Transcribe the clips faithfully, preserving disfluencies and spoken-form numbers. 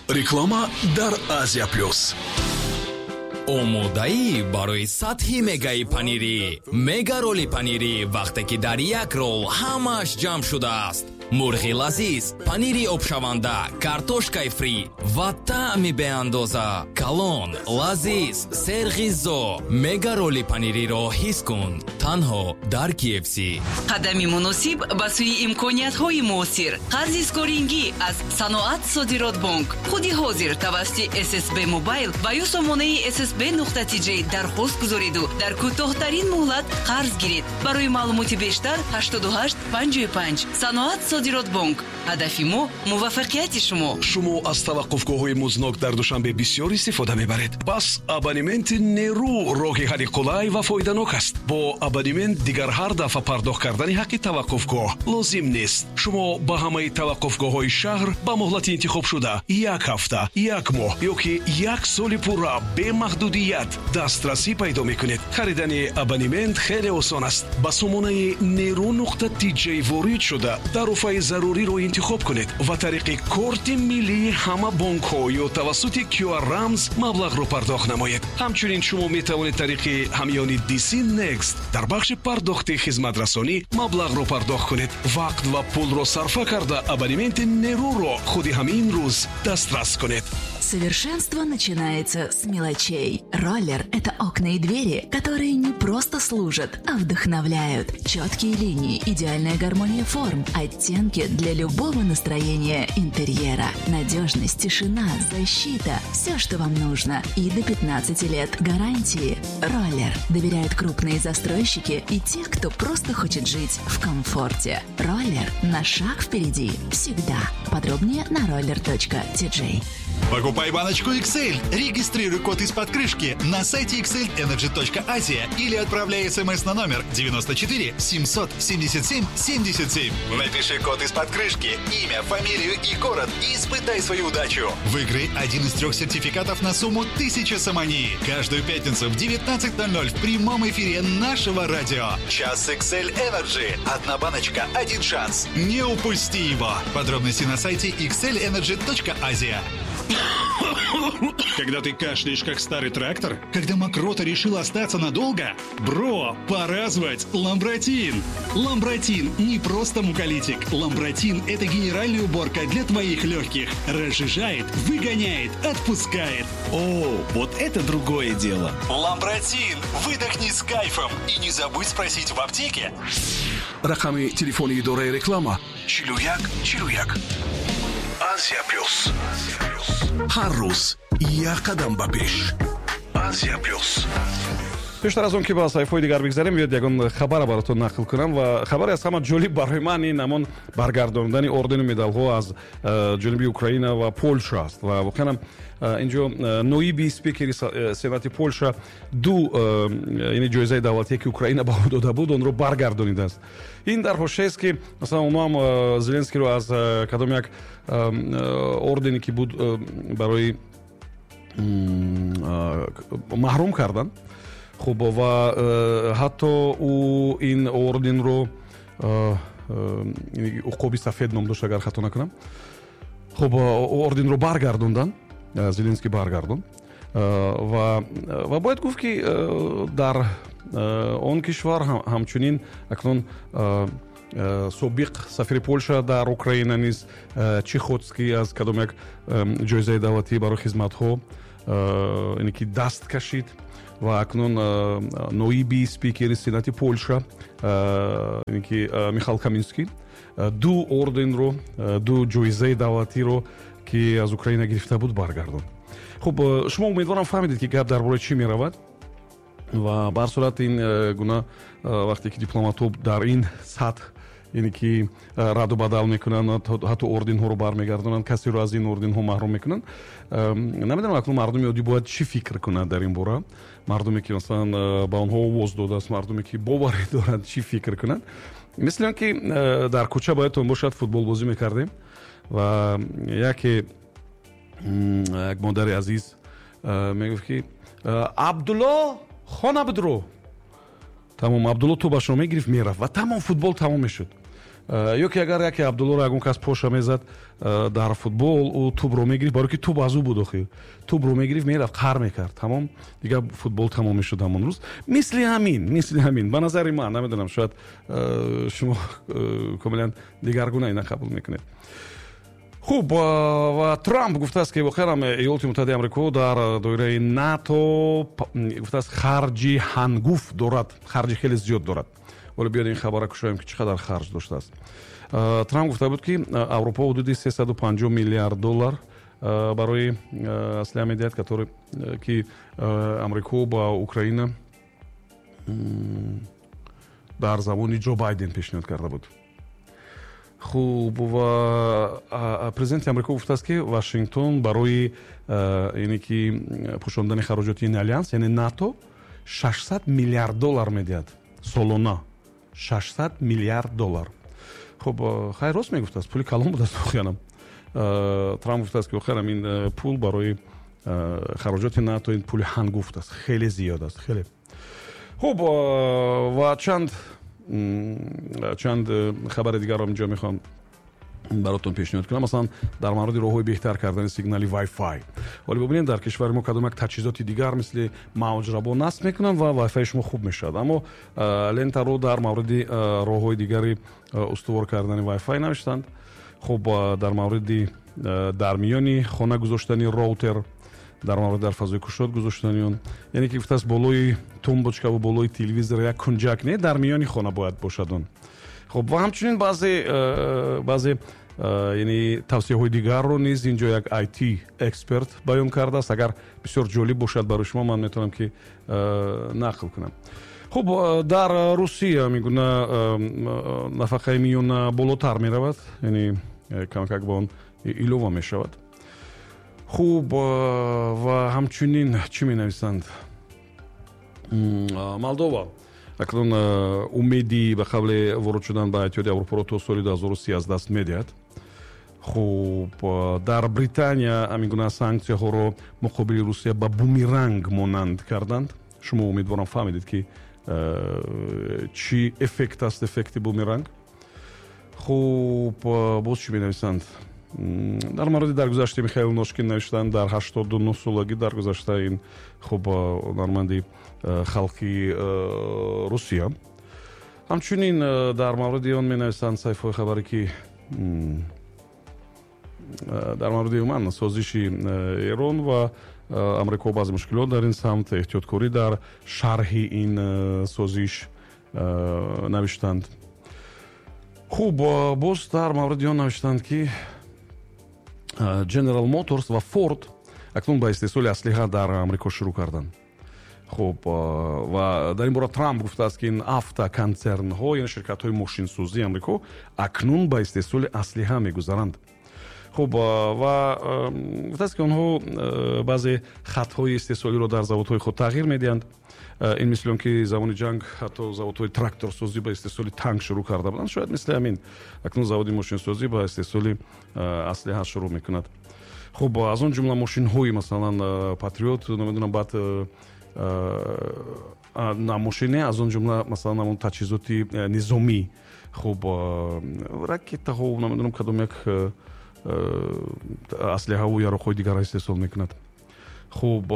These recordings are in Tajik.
Реклама дар Азия Плюс. Омодаӣ барои сатҳи мегаи панирӣ. Мега роли панирӣ, вақте ки дар як рол ҳамааш ҷамъ шудааст: мурғи лазиз, панири обшаванда, картошкаи фри ва таъми беандоза. Калон, лазиз, серғизо. Мега роли панириро ҳис кун танҳо дар K F C. Қадами муносиб ба сӯи имкониятҳои муосир. Қарзи скорингӣ аз Саноат Содиротбонк. Худи ҳозир тавассути С С Б Мобайл ва ё сомонаи S S B нуқта T J дархост гузориду дар кӯтоҳтарин муҳлат қарз гиред. Барои маълумоти бештар ҳаштоду ҳашт панҷоҳу панҷ. Саноат Содиротбонк, ҳадафи мо муваффақияти шумо. Шумо аз таваққуфгоҳҳои музднок дар Душанбе бисёр истифода мебаред. Пас абонементи Нерӯ роҳи ҳалли қулай ва фоиданок аст. Бо абонемент дигар ҳар дафъа пардохт кардани ҳаққи таваққуфгоҳ лозим нест. Шумо ба ҳамаи таваққуфгоҳҳои шаҳр ба муҳлати интихобшуда, як ҳафта, як моҳ ё ки як соли пурра, бемаҳдудият дастрасӣ пайдо мекунед. Харидани абонемент хеле осон аст. Ба сомонаи нерӯ нуқта тиҷ ворид шуда, тарофаи заруриро интихоб кунед ва тариқи корти миллии ҳама бонкҳо ё тавассути Q R рамз маблағро пардохт намоед. Ҳамчунин шумо метавонед тариқи ҳамёни D C Next дар бахши пардохти хизматрасонӣ маблағро пардохт кунед. Вақт ва пулро сарфа карда, абонементи Нерӯро худи ҳамин рӯз дастрас кунед. Совершенство начинается с мелочей. Роллер – это окна и двери, которые не просто служат, а вдохновляют. Четкие линии, идеальная гармония форм, оттенки для любого настроения интерьера. Надежность, тишина, защита – все, что вам нужно. И до пятнадцати лет гарантии. Роллер. Доверяют крупные застройщики и те, кто просто хочет жить в комфорте. Роллер на шаг впереди. Всегда. Подробнее на roller точка T J. Покупай баночку X L. Регистрируй код из-под крышки на сайте xlenergy точка asia или отправляй смс на номер девяносто четыре семьсот семьдесят семь семьдесят семь. Напиши код из-под крышки, имя, фамилию и город и испытай свою удачу. Выиграй один из трех сертификатов на сумму тысяча сомони. Каждую пятницу в девятнадцать ноль ноль в прямом эфире нашего радио. Час X L Energy. Одна баночка, один шанс. Не упусти его. Подробности на сайте xlenergy точка asia. Когда ты кашляешь, как старый трактор? Когда мокрота решила остаться надолго? Бро, пора звать Ламбратин! Ламбратин не просто муколитик. Ламбратин – это генеральная уборка для твоих легких. Разжижает, выгоняет, отпускает. О, вот это другое дело. Ламбратин! Выдохни с кайфом. И не забудь спросить в аптеке. Рақами телефони идораи реклама чилу як чилу як. Азия Плюс, ҳар рӯз як қадам ба пеш. Азия Плюс. Пештар аз он ки ба саҳифаҳои дигар бигзарем, биёед ягон хабара баротон нақл кунам. Ва хабаре аз ҳама ҷолиб барои ман ин ҳамон баргардондани ордену медалҳо аз э, ҷониби Украина ва Полша аст. Ва воқеан э, инҷо э, ноиби спикери сенати Полша ду, яъне, ҷоизаи давлатие, ки Украина ба ӯ дода буд, онро баргардонидааст. Ин дар ҳошияест, ки масалан онҳо ҳам Зеленскийро аз кадом як ордене, ки буд, барои маҳрум карданд. Хуб, ва э, ҳатто ӯ ин орденро, э, э, Уқоби сафед ном дошт, агар хато накунам, хуб, орденро баргардонданд, Зеленский баргардонд. ва ва бояд гуфт, ки дар он кишвар ҳамчунин акнун собиқ сафири Полша дар Украина низ, Чихотский, аз кадом як ҷоизаи давлатӣ барои хизматҳо, ине ки даст кашид. Ва акнун ноиби спикери сенати Полша, ки Михал Каминский, ду орденро, ду ҷоизаи давлатиро, ки аз Украина гирифта буд, баргардонд. Хуб, шумо, умедворам, фаҳмидед, ки гап дар бораи чӣ меравад. Ва ба ҳар сурат ин гуна вақте ки дипломатҳо дар ин сатҳ, яъне ки, раду бадал мекунанд, ҳатто орденҳоро бармегардонанд, касеро аз ин орденҳо маҳрум мекунанд, намедонам, акнун мардуми оддӣ бояд чӣ фикр кунад дар ин бора? Мардуме, ки масалан ба онҳо овоз додааст, мардуме, ки боварӣ доранд, чӣ фикр кунанд? Мисли он ки дар кӯча, боядтон бошад, футболбозӣ мекардем ва яке, як модари азиз мегуфт, ки «Абдулло, хона бидро». Тамом, Абдулло тӯбашро мегирифт, мерафт ва тамом, футбол тамом мешуд. Ё ки агар яке Абдуллоро ягон кас поша мезад дар футбол, ӯ тӯбро мегирифт, барои ки тӯб аз ӯ буд, охир тӯбро мегирифт, мерафт, қар мекард, тамом, дигар футбол тамом мешуд ҳамон рӯз. Мисли ҳамин, мисли ҳамин, ба назари ман, намедонам, шояд шумо комилан дигаргуна ина қабул мекунед. Хуб, ва Трамп гуфтааст, ки воқеан Иёлоти Муттаҳидаи Амрико дар доираи НАТО гуфтааст харҷи ҳангуфт дорад, харҷи хеле зиёд дорад. Вале биёед ин хабарро кушоем, ки чӣ қадар харҷ доштааст. Трамп гуфта буд, ки Аврупо ҳудуди сесаду панҷоҳ миллиард доллар барои аслиҳа медиҳад, ки Амрико ба Украина дар замони Ҷо Байден пешниҳод карда буд. Хуб, ва президенти Амрико гуфтааст, ки Вашингтон барои яъне ки пӯшондани хароҷоти ин алянс, яъне НАТО, шашсад миллиард доллар медиҳад солона. шашсад миллиард доллар. Хуб, хайр, рост мегуфтааст, пули калон будааст воқеанам. Трамп гуфтааст, ки охирам ин пул барои хароҷоти НАТО ин пули ҳангуфт аст, хеле зиёд аст, хеле. Хуб, ва чанд чанд хабари дигарро инҷо мехоҳам баротон пешниҳод кунам. Масалан, дар мавриди роҳҳои беҳтар кардани сигнали Wi-Fi. Вале бубинед, дар кишвари мо кадом як таҷҳизоти дигар мисли мавҷрабо насб мекунанд ва Wi-Fi шумо хуб мешавад. Аммо лентаро дар мавриди роҳҳои дигари устувор кардани Wi-Fi навиштанд. Хуб, дар мавриди дар миёни хона гузоштани роутер, дар мавриди дар фазои кушод гузоштани он, яъне ки гуфтааст болои тумбочка ва болои телевизор як кунҷак не, дар миёни хона бояд бошад он. Хуб, ва ҳамчунин баъзе баъзе яъне тавсияҳои дигарро низ инҷо як ай ти эксперт баён кардааст. Агар бисёр ҷолиб бошад барои шумо, ман метавонам ки нақл кунам. Хуб, дар Русия мегуна нафақаи миёна болотар меравад, яъне камакак ба он илова мешавад. Хуб, ва ҳамчунин чӣ менависанд? Молдова акнун умеди ба қавле ворид шудан ба Иттиҳоди Аврупоро то соли ду ҳазору си аз даст медиҳад. Хуб, дар Британия ҳамин гуна санксияҳоро муқобили Русия ба бумеранг монанд карданд. Шумо умедворам фаҳмидед, ки чӣ эффект аст эффекти бумеранг. Хуб, боз чӣ менависанд? Дар мавриди даргузашти Михаил Ношкин навиштанд, дар ҳаштоду нӯҳ солагӣ даргузашта ин хуб ҳунарманди халқи Русия. Ҳамчунин дар мавриди он менависанд саҳифаҳои хабарӣ, ки дар мавриди умуман созиши Эрон ва Амрико баъзе мушкилот дар ин самт, эҳтиёткорӣ дар шарҳи ин созиш навиштанд. Хуб, боз дар мавриди он навиштанд, ки General Motors ва Ford акнун ба истеҳсоли аслиҳа дар Амрико шурӯъ карданд. Хуб, ва дар ин бора Трамп гуфтааст, ки ин автоконцернҳо, яъне ширкатҳои мошинсозии Амрико, акнун ба истеҳсоли аслиҳа мегузаранд. Хуб, ва гуфтааст, ки онҳо баъзе хатҳои истеҳсолиро дар заводҳои худ тағйир медиҳанд. Ин мисли он ки замони ҷанг ҳатто заводҳои тракторсозӣ ба истеҳсоли танк шурӯъ карда буданд, шояд мисли ҳамин акнун заводи мошинсозӣ ба истеҳсоли аслиҳа шурӯъ мекунад. Хуб, аз он ҷумла мошинҳои масалан Патриот, намедонам, баъд на мошине, аз он ҷумла масалан ҳамон таҷҳизоти низомӣ, хуб, ракетаҳо, намедонам, кадом як аслиҳаву яроқҳои дигарро истеҳсол мекунад. Хуб,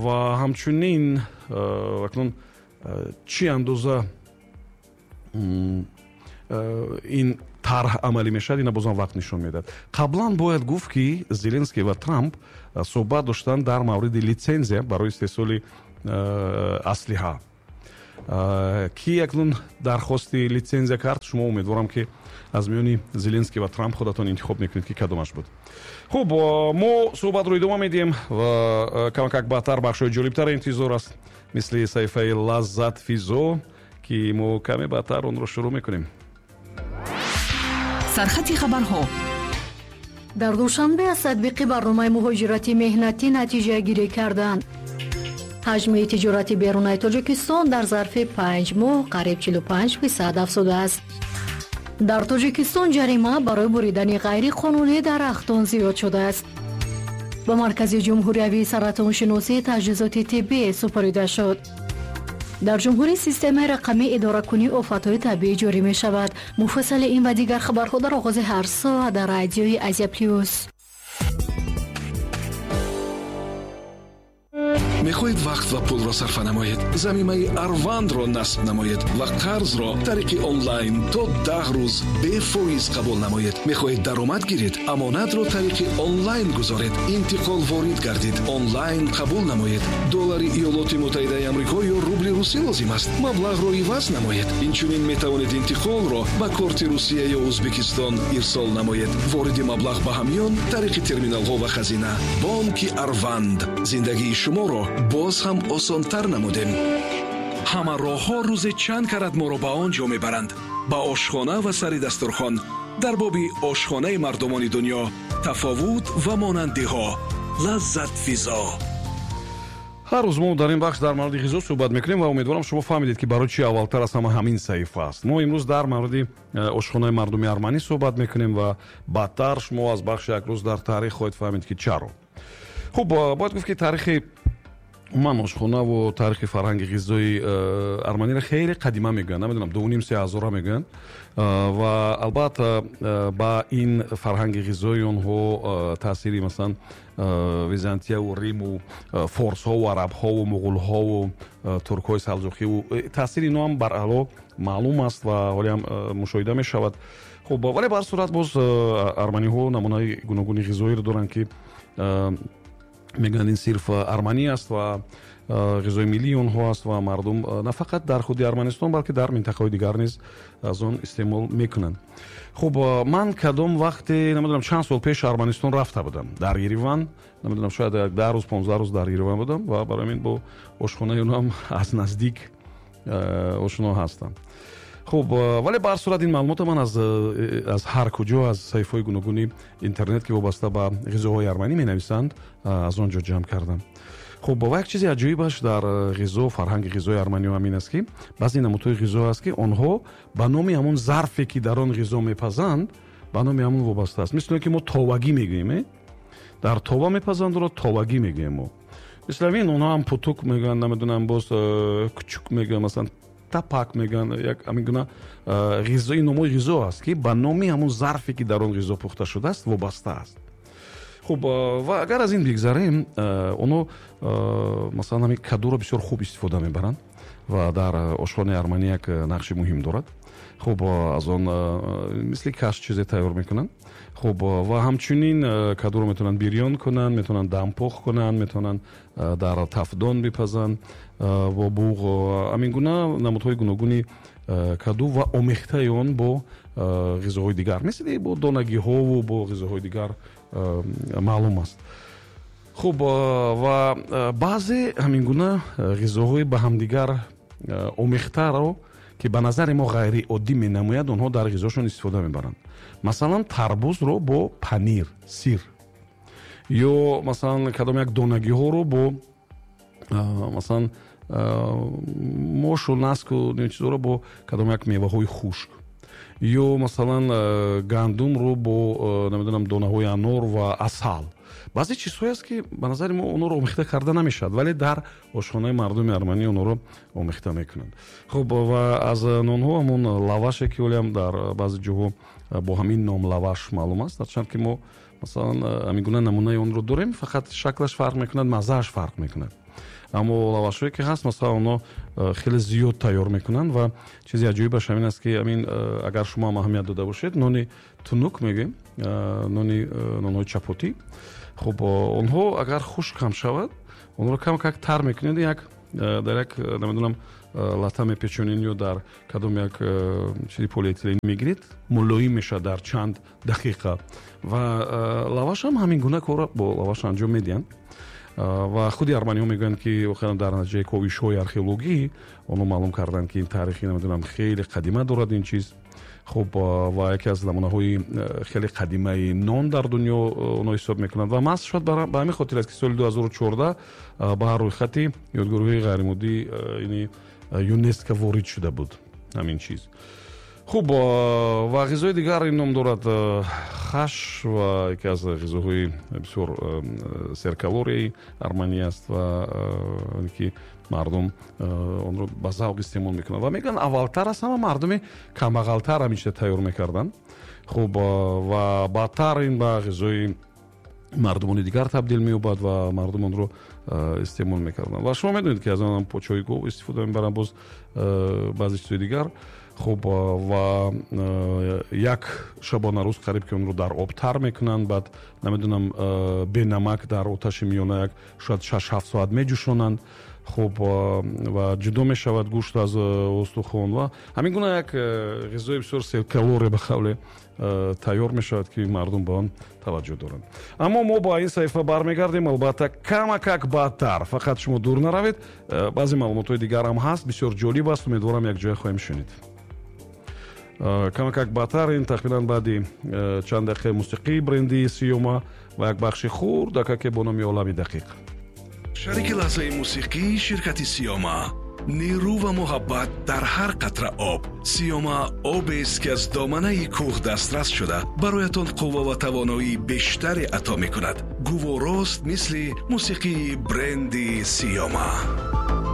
ва ҳамчунин акнун чӣ андоза ин тарҳ амалӣ мешавад, ина бозам вақт нишон медиҳад. Қаблан бояд гуфт, ки Зеленский ва Трамп суҳбат доштанд дар мавриди литсензия барои истеҳсоли аслиҳа. Ки акнун дархости литсензия кард, шумо умедворам, ки аз миёни Зеленский ва Трамп худатон интихоб мекунед, ки кадомаш буд. Хуб, мо суҳбатро идома медиҳем ва камакак баъдтар бахшҳои ҷолибтар интизор аст, мисли саҳифаи Лаззат Физо, ки мо каме баъдтар онро шурӯъ мекунем. Сархати хабарҳо. Дар Душанбе аз татбиқи барномаи муҳоҷирати меҳнатӣ натиҷагирӣ карданд. Ҳаҷми тиҷорати берунаи Тоҷикистон дар зарфи панҷ моҳ қариб чилу панҷ фисад афзудааст. Дар Тоҷикистон ҷарима барои буридани ғайриқонунии дарахтон зиёд шудааст. Ба Маркази ҷумҳуриявии саратоншиносӣ таҷҳизоти тиббӣ супорида шуд. Дар ҷумҳурӣ системаи рақамии идоракунии офатҳои табиӣ ҷорӣ мешавад. Муфассали ин ва дигар хабарҳо дар оғози ҳар соат дар радиои Азия Плюс. Мехоҳед вақт ва пулро сарфа намоед? Замимаи Арвандро насб намоед ва қарзро тариқи онлайн то даҳ рӯз бефоиз қабул намоед. Мехоҳед даромад гиред? Амонатро тариқи онлайн гузоред. Интиқол ворид гардид. Онлайн қабул намоед. Доллари Иёлоти Муттаҳидаи Амрико ё рубли русӣ лозим аст? Маблағро иваз намоед. Инчунин метавонед интиқолро ба корти Русия ё Ӯзбекистон ирсол намоед. Вориди маблағ ба ҳамён тариқи терминалҳо ва хазина. Бонки Арванд. Зиндагии шуморо боз ҳам осонтар намудем. Ҳама роҳҳо рӯзе чанд карат моро ба он ҷо мебаранд. Ба ошхона ва сари дастурхон. Дар боби ошхонаи мардумони дунё тафовут ва монандиҳо. Лаззатфизо. Ҳар рӯз мо дар ин бахш дар мавриди ғизо суҳбат мекунем ва умедворам шумо фаҳмидед, ки барои чӣ аввалтар аз ҳама ҳамин саҳифа аст. Мо имрӯз дар мавриди ошхонаи мардуми арманӣ суҳбат мекунем ва баъдтар шумо аз бахши як рӯз дар таърих хоҳед фаҳмид, ки чаро. Хуб, бояд гуфт, ки таърихи умуман ошхонаву таърихи фарҳанги ғизои арманиро хеле қадима мегӯянд, намедонам, дувним се ҳазора мегӯянд ва албатта ба ин фарҳанги ғизои онҳо таъсири масалан Византияву Риму форсҳову арабҳову муғулҳову туркҳои салҷуқиву таъсири инҳо ҳам баръало маълум аст ва ҳоле ҳам мушоҳида мешавад. Хуб, вале ба ҳар сурат боз арманиҳо намунаи гуногуни ғизоиро доранд, ки мегӯянд ин сирф арманӣ аст ва ғизои миллии онҳо аст ва мардум на фақат дар худи Арманистон, балки дар минтақаҳои дигар низ аз он истеъмол мекунанд. Хуб, ман кадом вақте, намедонам, чанд сол пеш Арманистон рафта будам, дар Ереван, намедонам, шояд як даҳ рӯз, понздаҳ рӯз дар Ереван будам ва барои ҳамин бо ошхонаи онҳо ҳам аз наздик ошно ҳастам. Хуб, вале ба ҳар сурат ин маълумотро ман аз аз ҳар куҷо, аз саҳифаҳои гуногуни интернет, ки вобаста ба ғизоҳои арманӣ менависанд, аз он ҷо ҷамъ кардам. Хуб, ва як чизи аҷоибаш дар ғизо, фарҳанги ғизои арманиҳо ҳамин аст, ки баъзе намудҳои ғизо аст, ки онҳо ба номи ҳамон зарфе, ки дар он ғизо мепазанд, ба номи ҳамон вобаста аст. Мисли он ки мо товагӣ мегӯем, дар това мепазанд, онро товагӣ мегӯем мо. Мисли ҳамин онҳо ҳам путук мегӯянд, намедонам, боз кучук мегӯянд, масалан тапак мегӯянд, як ҳамин гуна ғизои номҳои ғизо аст, ки ба номи ҳамон зарфе, ки дар он ғизо пухта шудааст, вобаста аст. Хуб, ва агар аз ин бигзарем, онҳо масалан ҳамин кадуро бисёр хуб истифода мебаранд ва дар ошхонаи арманӣ як нақши муҳим дорад. Хуб, аз он мисли каш чизе тайёр мекунанд. Хуб, ва ҳамчунин кадуро метавонанд бирён кунанд, метавонанд дампӯх кунанд, метавонанд дар тафдон бипазанд бо буғ. Ҳамин гуна намудҳои гуногуни каду ва омехтаи он бо ғизоҳои дигар, мисли бо донагиҳову бо ғизоҳои дигар маълум аст. Хуб, ва баъзе ҳамин гуна ғизоҳои ба ҳамдигар омехтаро, ки ба назари мо ғайриоддӣ менамояд, онҳо дар ғизошон истифода мебаранд. Масалан, тарбузро бо панир, сир, ё масалан кадом як донагиҳоро бо масалан мошу наску чизҳоро бо кадом як меваҳои хушк, ё масалан гандумро бо намедонам донаҳои анор ва асал. Баъзе чизҳое аст, ки ба назари мо онҳоро омехта карда намешавад, вале дар ошхонаи мардуми арманӣ онҳоро омехта мекунанд. Хуб, ва аз нонҳо ҳамон лаваше, ки ҳолиам дар баъзе ҷоҳо бо ҳамин ном лаваш маълум аст, ҳарчанд ки мо масалан ҳамин гуна намунаи онро дорем, фақат шаклаш фарқ мекунад, маззааш фарқ мекунад. Аммо лавашҳое ки ҳаст, масалан онҳо хеле зиёд тайёр мекунанд ва чизи аҷоибаш ҳамин аст, ки ҳамин агар шумо ҳам аҳамият дода бошед, нони тунук мегӯем, нони нонҳои чапотӣ. Хуб, онҳо агар хушк ҳам шавад, онҳоро кам как тар мекунед, як дар як намедонам лата мепечонед ё дар кадом як чизи полиэтилен мегиред, мулоим мешавад дар чанд дақиқа. Ва лаваш ҳам ҳамин гуна корро бо лаваш анҷом медиҳанд. Ва худи арманиҳо мегӯянд, ки воқеан дар натиҷаи ковишҳои археологӣ онҳо маълум карданд, ки ин таърихи намедонам хеле қадима дорад ин чиз. Хуб, ва яке аз намунаҳои хеле қадимаи нон дар дунё онҳо ҳисоб мекунанд. Ва маҳз шояд ба ҳамин хотир аст, ки соли ду ҳазору чордаҳ ба рӯйхати ёдгориҳои ғайримоддӣ яъне ЮНЕСКО ворид шуда буд ҳамин чиз. Хуб, ва ғизои дигар ин ном дорад хаш ва яке аз ғизоҳои бисёр серкалорияи арманӣ аст ва ки мардум онро ба завқ истеъмол мекунанд ва мегӯянд, аввалтар аз ҳама мардуми камбағалтар ҳамин чиза тайёр мекарданд. Хуб, ва баъдтар ин ба ғизои мардумони дигар табдил меёбад ва мардум онро истеъмол мекарданд. Ва шумо медонед, ки аз он почои гов истифода мебаранд, боз баъзе чизҳои дигар. Хуб, ва як шабонарӯз қариб ки онро дар об тар мекунанд, баъд намедонам, бенамак дар оташи миёна як шояд шаш ҳафт соат меҷӯшонанд. Хуб, ва ҷудо мешавад гӯшт аз устухон ва ҳамин гуна як ғизои бисёр серкалория ба қавле тайёр мешавад, ки мардум ба он таваҷҷӯҳ доранд. Аммо мо ба ин саҳифа бармегардем, албатта, камакак баъдтар. Фақат шумо дур наравед, баъзе маълумотҳои дигарам ҳаст, бисёр ҷолиб аст, умедворам, якҷоя хоҳем шунид. Камакак баъдтар, ин тақрибан баъди чанд дақиқаи мусиқии бренди Сиёма ва як бахши хурдакаке бо номи Олами дақиқ. Шарики лаҳзаи мусиқӣ ширкати Сиёма. Нерӯ ва муҳаббат дар ҳар қатра об. Сиёма обест, ки аз доманаи кӯҳ дастрас шуда, бароятон қувва ва тавоноии бештаре ато мекунад. Гуворост, мисли мусиқии бренди Сиёма.